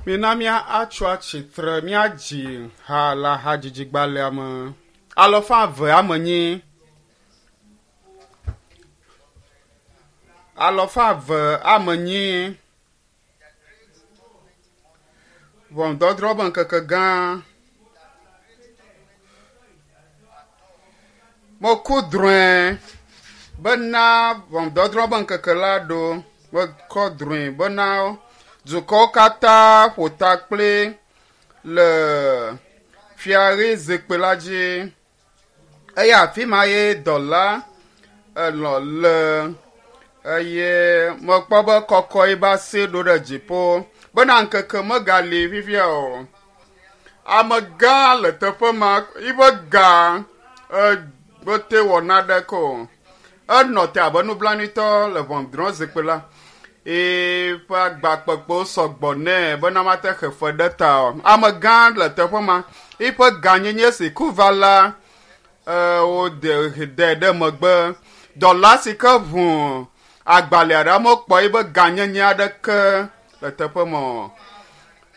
Mina míatso atsitre míadzi ha le hadzidzigbalẽa me. Alɔfa eve ame nyi. Alɔfa eve ame nyi. Ʋɔnudɔdrɔ̃ be ŋkeke gã. Meku drɔ̃e bena ʋɔnudɔdrɔ̃ be ŋkeke la ɖo. Mekɔ drɔ̃e bena dukɔwo katã ƒo ta kpli le fiaɣi zikpui la dzi. Eye afi ma ye dɔla elɔ le eye mekpɔ be kɔkɔ yi be asi ɖo ɖe dziƒo bena ŋkeke megali fifia o. Amegã le teƒe ma yiƒe ga mete wɔ naɖeke o. Enɔ te abe nublanuitɔ le ʋɔnudrɔ̃ zikpui la. Eƒe agbakpekpewo sɔgbɔ nɛ bena mate xe fe ɖe ta o. Amegã le teƒe ma yiƒe gãnyenye si ku va la wode de ɖe megbe. Dɔla si ke ʋu agbalẽ ɖe mekpɔ yiƒe gãnyenye aɖeke le teƒe ma o.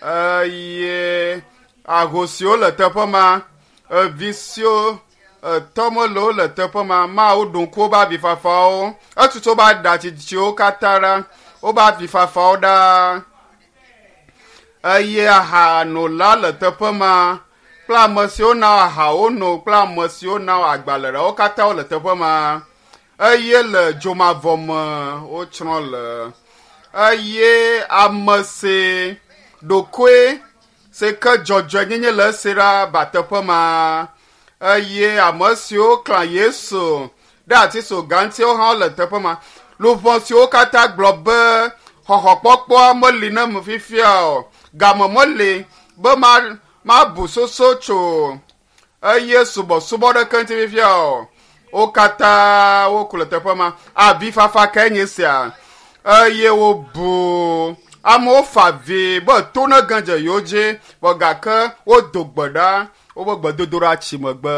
Eye ahosiwo le teƒe ma, evi siwo etɔ melewo le teƒe ma, Mawu ɖo ŋku woƒe avifafawo, etutu woƒe aɖatsitsiwo katã ɖa, woƒe avifafawo ɖa. Eye ahanola le teƒe ma kple ame siwo na ahawo no kple ame siwo na agbalẽ ɖe wo katã wole teƒe ma. Eye le dzomavɔ me wotsrɔ̃ le. Eye ame si ɖokoe si ke dzɔdzɔenyenye le esi ɖa ba teƒe ma. Eye ame siwo klã Yesu ɖe atisoga ŋuti hã le teƒe ma. Luʋɔ siwo katã gblɔ be xɔxɔkpɔkpɔa meli ne me fifia o. Game meli be ma mabu soso tso eye subɔsubɔ ɖeke ŋuti fifia o. Wo katã woku le teƒe ma. Avifafa kae nye sia eye wobu amewo fa avi be to ne ge dze yewo dzi vɔ gake wodo gbe ɖa woƒe gbedodoɖa tsi megbe.